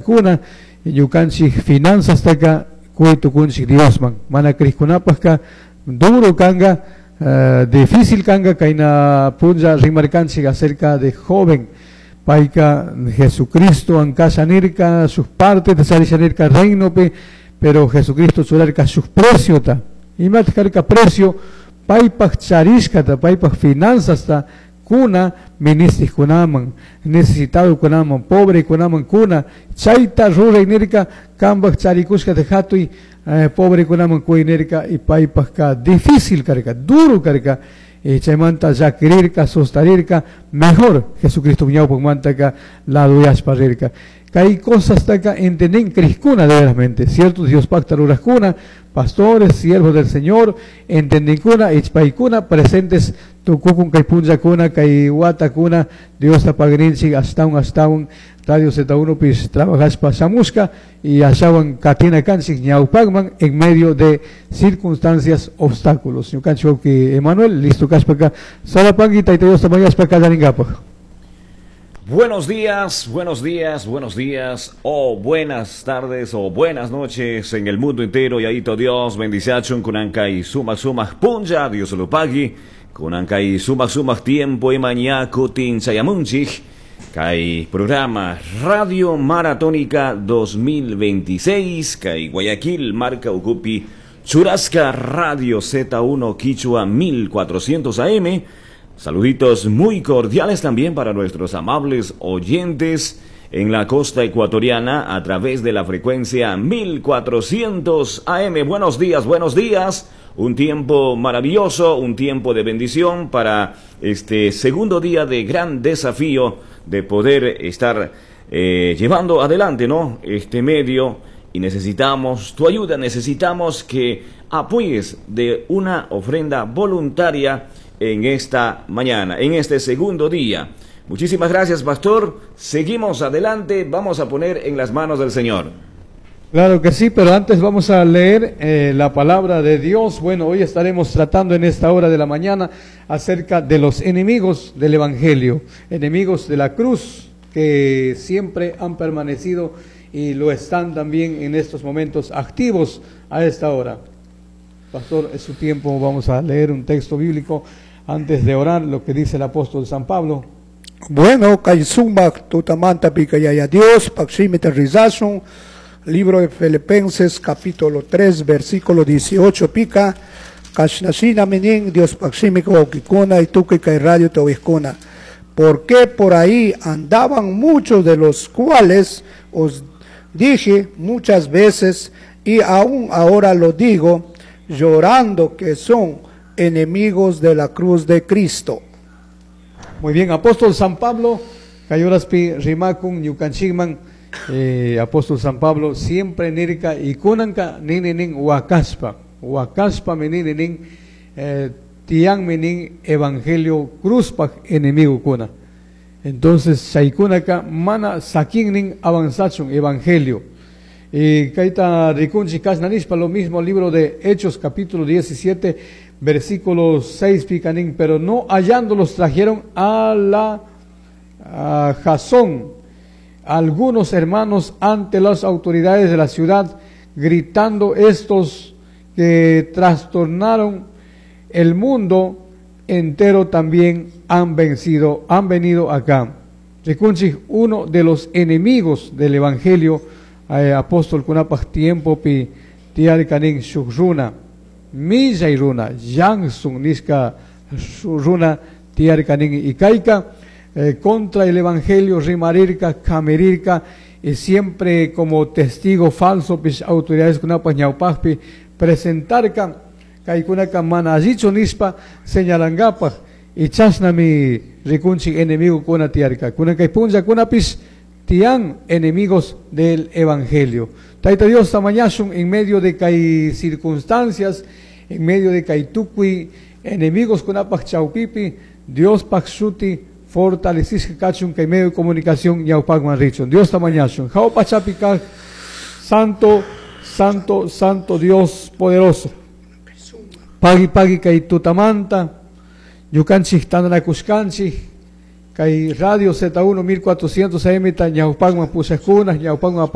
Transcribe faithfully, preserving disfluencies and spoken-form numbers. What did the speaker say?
kuna ñukanchik finanzastaka quy tukunchik Diosman mana krikkunapajka duro kanga uh, difícil kanga kayna punlla rimarkanchik acerca de joven payka Jesucristo ankasha nirka sus partes charisha nirka reinopi pero Jesucristo churarka shuk preciota imata karka precio paypaj charishkata paypaj finanzasta kuna ministikunaman necesitadokunaman pobrekunaman kuna chayta ruray nirka kanpaj charikushkata hatuy eh, pobrekunaman quy nirka y paypajka difícil karka duro karka y chaymanta llakirirka sustarirka mejor Jesucristo ñawpakmantaka laduyashpa rirka kay cosastaka entendin krikuna de veramente cierto Dios pacta rurajkuna pastores siervos del Señor entendinkuna ichpaykuna presentes tukukun kay punllakuna kay watakuna Diosta pagrinchik ashtawan ashtawan Radio Z uno pis trabajashpa shamushka y ashawan katina kanchik ñawpakman en medio de circunstancias, obstáculos. Ñukanchik wawki Emanuel listo kashpaka sarapanki Tayta Diosta mañashpa kallarinkapaj. Buenos días, buenos días, buenos días, o buenas tardes, o buenas noches en el mundo entero. Yayito Dios, bendiciachun, kunan kay sumak sumak punlla, Dios lo pagui, kunan kay sumak sumak tiempo y mañana kutin chayamunchik, kay programa Radio Maratónica dos mil veintiséis, kay Guayaquil, marca ukupi, churashka Radio Z uno Quichua mil cuatrocientos A M. Saluditos muy cordiales también para nuestros amables oyentes en la costa ecuatoriana a través de la frecuencia mil cuatrocientos A M. Buenos días, buenos días. Un tiempo maravilloso, un tiempo de bendición para este segundo día de gran desafío de poder estar eh, llevando adelante, ¿no?, este medio y necesitamos tu ayuda, necesitamos que apoyes de una ofrenda voluntaria en esta mañana, en este segundo día. Muchísimas gracias, pastor. Seguimos adelante, vamos a poner en las manos del Señor. Claro que sí, pero antes vamos a leer eh, la palabra de Dios. Bueno, hoy estaremos tratando en esta hora de la mañana acerca de los enemigos del Evangelio, enemigos de la cruz que siempre han permanecido y lo están también en estos momentos activos a esta hora. Pastor, es su tiempo, vamos a leer un texto bíblico antes de orar, lo que dice el apóstol San Pablo. Bueno, kay sumak tutamanta Yaya Dios, paj shimita rizashun, libro de Filipenses capítulo tres, versículo dieciocho pica, kashnashinami nin Dios paj shimika wawkikuna y tukuy kay radio uyajkuna. Porque por ahí andaban muchos de los cuales os dije muchas veces y aún ahora lo digo, llorando, que son enemigos de la cruz de Cristo. Muy bien, apóstol San Pablo, kay horaspi rimakun ñukanchikman, eh, apóstol San Pablo siempre nirka y kunanka nini nin wakashpa, wakashpa nini nin eh, tiyanmi nin evangelio cruzpaj enemigo kuna. Entonces, chaykunaka mana sakin nin avanzachun evangelio. Y kayta rikunchik kashna nishpa, lo mismo libro de Hechos capítulo diecisiete versículo seis pica nin, pero no hallándolos trajeron a la a Jasón algunos hermanos ante las autoridades de la ciudad, gritando: "Estos que trastornaron el mundo entero también han vencido, han venido acá". Rikunchik, uno de los enemigos del evangelio, eh, apóstol kunapaj tiempo pi tiyarka nin shuk runa, millay runa, Janson nishka runa tiyarka nin y kayka eh, contra el evangelio rimarirka, kamirirka, y siempre como testigo falso pish autoridades kunapaj ñawpajpi presentarka kaykunaka mana allichu nishpa señalangapaj y chashnami rikunchik enemigo kuna tiyarka. Kunan kay punllakunapish tiyan enemigos del evangelio. Tayta Dios mañashun en medio de kay circunstancias, en medio de kay tukuy enemigos kunapaj chawpipi, Dios paj shuti fortalecishka kachun kay medio de comunicación ñawpakman richun. Dios mañashun. Jahua pachapi kaj, santo, santo, santo Dios poderoso. Pagui pagui kay tutamanta, ñukanchik tantanakushkanchik, kay Radio Z uno mil cuatrocientos A M ta ñawpakman pushakuna, ñawpakman